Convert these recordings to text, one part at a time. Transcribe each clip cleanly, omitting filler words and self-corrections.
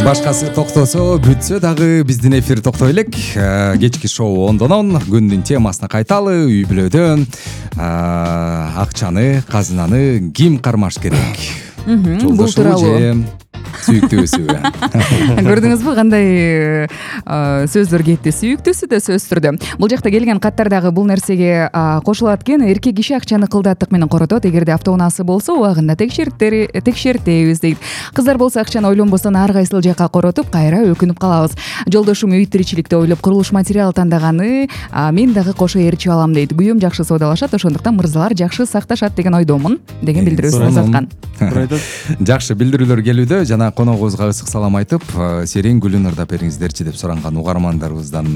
Башкасы токтосо, бүтсө дагы биздин эфир токтой элек. Кечки шоу ондонон күндүн темасына кайталы. Үй бүлөдө акчаны, казынаны ким кармаш керек? Бул тууралуу сүйүктүүсү. Көрдүңүзбү кандай сөздөр кетти? Сүйүктүүсү да сөзсүз түрдө. Бул жакта келген каттар дагы бул нерсеге кошулат экен. Эркек киши акчаны кылдаттык менен коротот. Эгерде автоунаасы болсо, убагында текшертебиз дейт. Кыздар болсо акчаны ойлонбостон ар кайсыл жакка коротуп, кайра өкүнүп калабыз. Жолдошум үй тиричиликти ойлоп курулуш материалы тандаганы, мен дагы кошо ээрчип алам дейт. Күйөөм жакшы соодалашат, ошондуктан мырзалар жакшы сакташат деген ойдомун деген билдирүүсүн жазаткан. Жакшы билдирүүлөр келүүдө. Жана коногубузга ысык салам айтып, Серен Гүлүн ырдап бериңиздерчи деп суранган угармандарыбыздан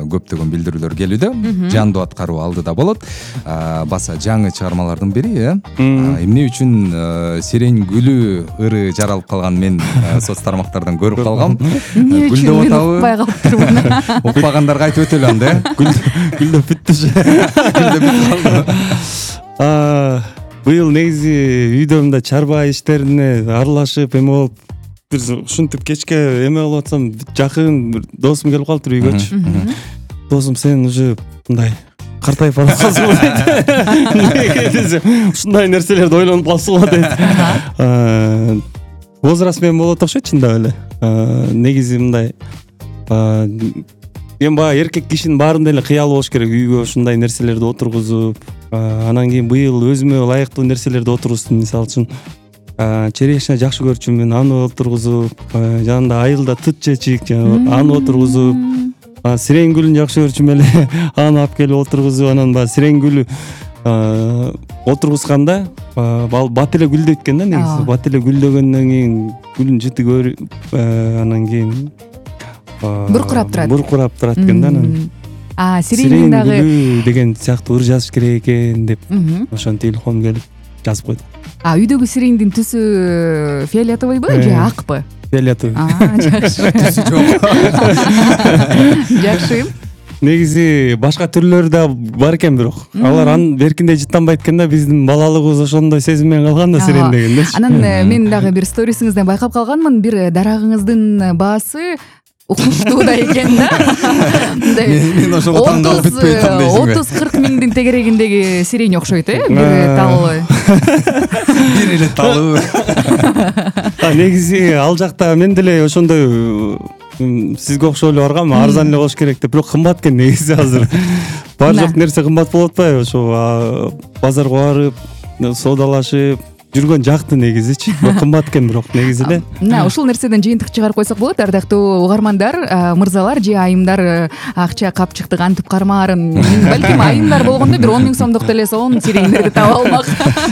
көптөгөн билдирүүлөр келүүдө. Жандуу аткаруу алдыда болот. Баса жаңы чыгармалардын бири, эмне үчүн Серен Гүлү ыры жаралып калган мен соц тармактардан көрүп калгам. Эмне үчүн мен укпай калыптырмын. Укпагандарга айтып өтөлү анда. Гүлдөп бүттү. Быйыл негизи үйдө мындай чарба иштерине аралашып эме болуп, бир ушинтип кечке эме болуп атсам, жакын бир досум келип калыптыр үйгөчү. Досум, сен уже мындай картайып барасың дейт. Ушундай нерселерди ойлонуп калсың дейт. Возраст менен болот окшойт чындап эле. Негизи мындай эми баягы эркек кишинин баарында эле кыялы болуш керек, үйгө ушундай нерселерди отургузуп, анан кийин быйыл өзүмө ылайыктуу нерселерди отургуздум. Мисалы үчүн черешня жакшы көрчүмүн, аны отургузуп, жанында айылда тыт чечик, аны отургузуп, Сирен Гүлүн жакшы көрчүм эле, аны алып келип отургузуп, анан баягы Сирен Гүлү отургузганда бат эле гүлдөйт экен да негизи. Бат эле гүлдөгөндөн кийин гүлүн жыты анан кийин буркурап турат экен да. Анан Сирен дагы деген сыяктуу ыр жазыш керек экен деп ошонтип илхом келип жазып койдум. Үйдөгү Сирендин түсү фиолетовыйбы же акпы? Фиолетовый. Жакшы. Түсү жок. Жакшы. Негизи башка түрлөрү да бар экен, бирок алар беркиндей жыттанбайт экен да. Биздин балалыгыбыз ошондой сезим менен калган да Сирен дегенде. Анан мен дагы бир сторисиңизден байкап калганмын, бир дарагыңыздын баасы укмуштуу да экен да. Мен ошого таң калып бүтпөй атам дейсиңби? 30-40 миңдин тегерегиндеги Сирен окшойт, бир талыбы. Бир эле талыбы. Негизи ал жакта мен деле ошондой сизге окшоп эле баргам, арзан эле болуш керек деп, бирок кымбат экен негизи азыр. Бар жок нерсе кымбат болуп атпайбы? Ошо базарга барып, соодалашып жүргөн жакты негизичи. Кымбат экен бирок негизи эле. Мына ушул нерседен жыйынтык чыгарып койсок болот, ардактуу угармандар, мырзалар же айымдар акча капчыкты кантип кармаарын, балким айымдар болгондо бир 10 миң сомдук телефон Сирендерди таба алмак.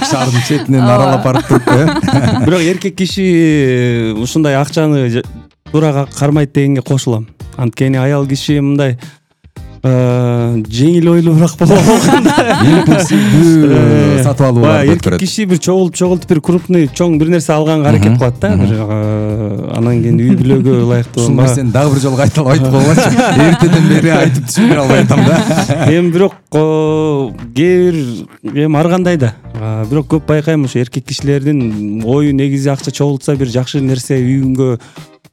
Шаардын четинен аралап барып туруп, Бирок эркек киши ушундай акчаны туура кармайт дегенге кошулам. Анткени аял киши мындай жеңил ойлуураак болот. импульсивдүү сатып алуулар көп эркек көрөт. киши бир чогултуп бир крупный, чоң бир нерсе алганга аракет кылат да. Анан кийин үй бүлөгө ылайыктуу. Ушул нерсени дагы бир жолу кайталап айтып койгончу. Эртеден бери айтып түшүндүрө албай атам да. Эми бирок кээ бир эми ар кандай да. Бирок көп байкайм, ушу эркек кишилердин ою негизи акча чогултса бир жакшы нерсе үйүнгө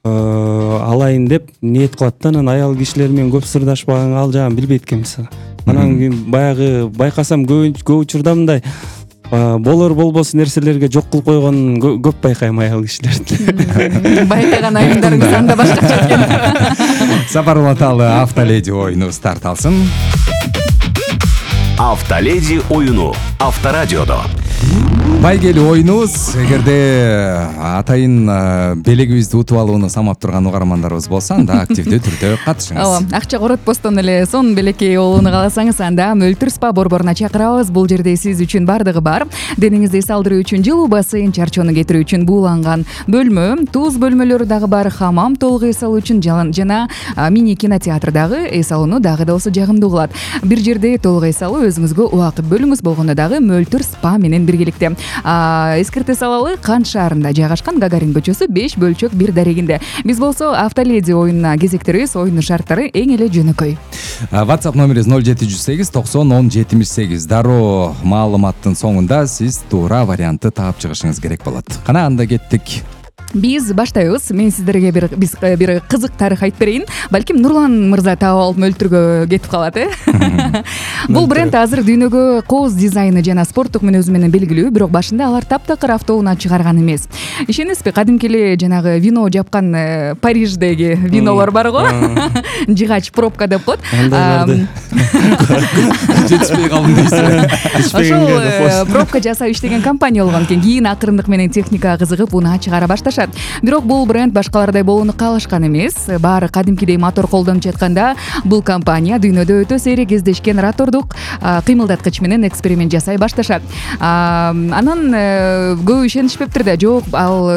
алайын деп ниет кылат да. Анан аял кишилер менен көп сырдашпаганга ал жагын билбейт экен мисалы. Анан кийин баягы байкасам көп учурда мындай болор болбос нерселерге жок кылып койгонун көп байкайм аял кишилердин. Байкаган айымдарыңыз анда башкача экен. Сапар уланталы Автоледи оюну старт алсын. Автоледи оюну Авторадиодо. Байгели оюнубуз. Эгерде атайын белегибизди утуп алууну самап турган угармандарыбыз болсо, анда активдүү түрдө катышыңыз. Акча коротпостон эле сонун белекей болууну кааласаңыз, анда Мөлтүр спа борборуна чакырабыз. Бул жерде сиз үчүн бардыгы бар. Денеңизди салдыруу үчүн жылуу бассейн, чарчоону кетирүү үчүн бууланган бөлмө, туз бөлмөлөрү дагы бар, хамам толук эс алуу үчүн жана мини кинотеатр дагы эс алууну дагы да болсо жагымдуу кылат. Бир жерде толук эс алуу, өзүңүзгө убакыт бөлүңүз болгондо дагы Мөлтүр спа менен биргеликте. Эскерте салалы, Кант шаарында жайгашкан, Гагарин көчөсү 5/1 дарегинде. Биз болсо Автоледи оюнуна кезектеребиз. Оюнун шарттары эң эле жөнөкөй. WhatsApp номерибиз 0708 90 10 78. Дароо маалыматтын соңунда сиз туура вариантты таап чыгышыңыз керек болот. Кана анда кеттик. биз баштайбыз. Мен сиздерге бир кызык тарых айтып берейин. Балким Нурлан мырза таап алып мөлтүргө кетип калат, Бул бренд азыр дүйнөгө кооз дизайны жана спорттук мүнөзү менен белгилүү, бирок башында алар таптакыр автоунаа чыгарган эмес. Ишенесизби, кадимки эле жанагы вино жапкан Париждеги винолор бар го. Жыгач пробка деп коет. Жетишпей калдым дейсиз. Ошол пробка жасап иштеген компания болгон экен. Кийин акырындык менен техникага кызыгып унаа чыгара башташат. Бирок бул бренд башкалардай болууну каалашкан эмес. Баары кадимкидей мотор колдонуп жатканда, бул компания дүйнөдө өтө сейрек кездешкен ротордук кыймылдаткыч менен эксперимент жасай башташат. Анан көп ишенишпептир да, жок, ал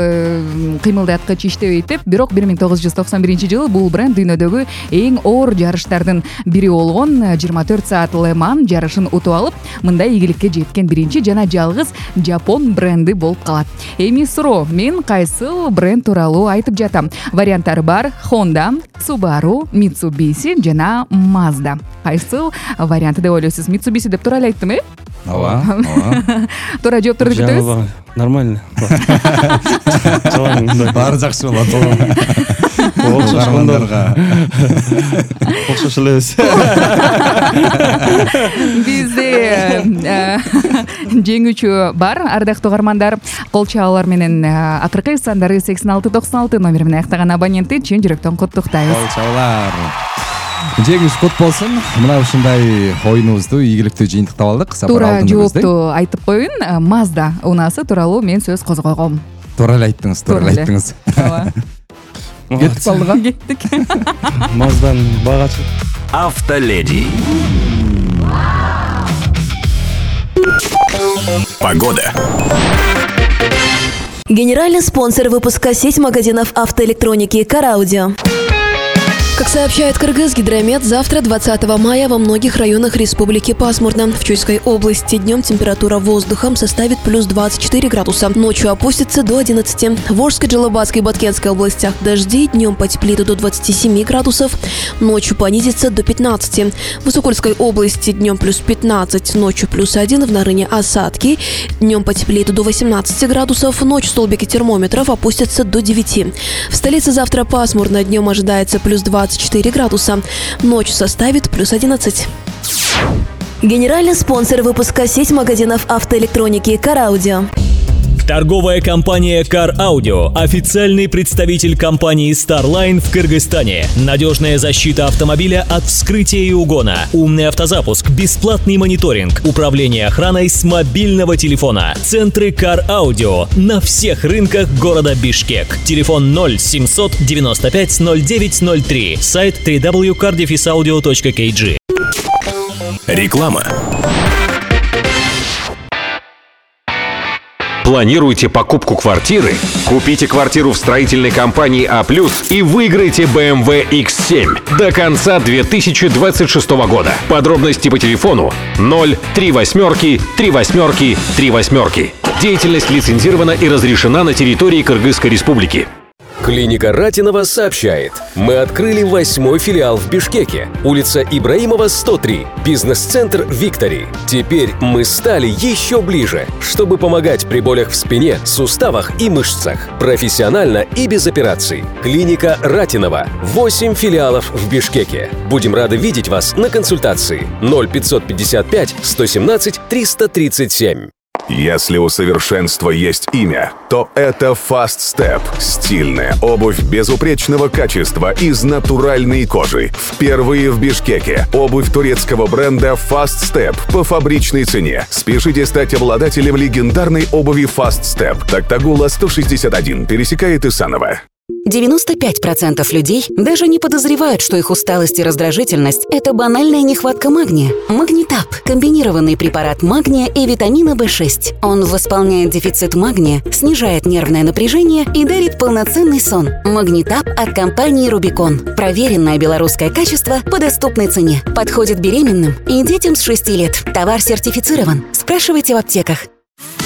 кыймылдаткыч иштебейт деп. Бирок 1991-жылы бул бренд дүйнөдөгү эң оор жарыштардын бири болгон 24 саат Le Mans жарышын утуп алып, мындай ийгиликке жеткен биринчи жана жалгыз жапон бренди болуп калат. Эми суроо, мен кайсыл бренд тууралуу айтып жатам? Варианттары бар: Honda, Subaru, Mitsubishi жана Mazda. Кайсыл варианты деп ойлойсуз? Mitsubishi деп туура эле айттым, Ооба. Туура жоопторду күтөбүз. Нормально. Баары жакшы болот. Окшош элебиз. Бизде жеңүүчү бар, ардактуу угармандар. Кол чабуулар менен акыркы сандары 8696 номери менен аяктаган абонентти чын жүрөктөн куттуктайбыз. Кол чабуулар. Жеңиш кут болсун. Мына ушундай оюнубузду ийгиликтүү жыйынтыктап алдык. Туура жоопту айтып коеюн. Mazda унаасы тууралуу мен сөз козгойгом. Туура эле айттыңыз, туура эле айттыңыз. Кетип калдык. Кеттик. Mazdan багачы. Автоледи. Погода. Генеральный спонсор выпуска — сеть магазинов автоэлектроники «Караудио». Как сообщает Кыргызгидромет, завтра, 20 мая, во многих районах республики пасмурно. В Чуйской области днем температура воздуха составит плюс 24 градуса, ночью опустится до 11. В Волжской, Джалабатской и Баткенской областях дожди, днем потеплеет до 27 градусов, ночью понизится до 15. В Высокольской области днем плюс 15, ночью плюс 1, в Нарыне осадки, днем потеплеет до 18 градусов, ночью столбики термометров опустятся до 9. В столице завтра пасмурно, днем ожидается плюс 24 градуса, ночью составит плюс 11. Генеральный спонсор выпуска — сеть магазинов автоэлектроники «Караудио». Торговая компания Car Audio – официальный представитель компании Starline в Кыргызстане. Надежная защита автомобиля от вскрытия и угона, умный автозапуск, бесплатный мониторинг, управление охраной с мобильного телефона. Центры Car Audio на всех рынках города Бишкек. Телефон 0700 95 0903. Сайт www.cardefisaudio.kg. Реклама. Планируете покупку квартиры? Купите квартиру в строительной компании А+, и выиграйте BMW X7 до конца 2026 года. Подробности по телефону 038 38 38. Деятельность лицензирована и разрешена на территории Кыргызской Республики. Клиника Ратинова сообщает. Мы открыли 8-й филиал в Бишкеке. Улица Ибраимова, 103. Бизнес-центр «Виктори». Теперь мы стали еще ближе, чтобы помогать при болях в спине, суставах и мышцах. Профессионально и без операций. Клиника Ратинова. 8 филиалов в Бишкеке. Будем рады видеть вас на консультации. 0555 117 337. Если у совершенства есть имя, то это Fast Step. Стильная обувь безупречного качества из натуральной кожи. Впервые в Бишкеке. Обувь турецкого бренда Fast Step по фабричной цене. Спешите стать обладателем легендарной обуви Fast Step. Токтагула 161 пересекает Исаново. 95% людей даже не подозревают, что их усталость и раздражительность – это банальная нехватка магния. Магнитап – комбинированный препарат магния и витамина В6. Он восполняет дефицит магния, снижает нервное напряжение и дарит полноценный сон. Магнитап от компании «Рубикон». Проверенное белорусское качество по доступной цене. Подходит беременным и детям с 6 лет. Товар сертифицирован. Спрашивайте в аптеках.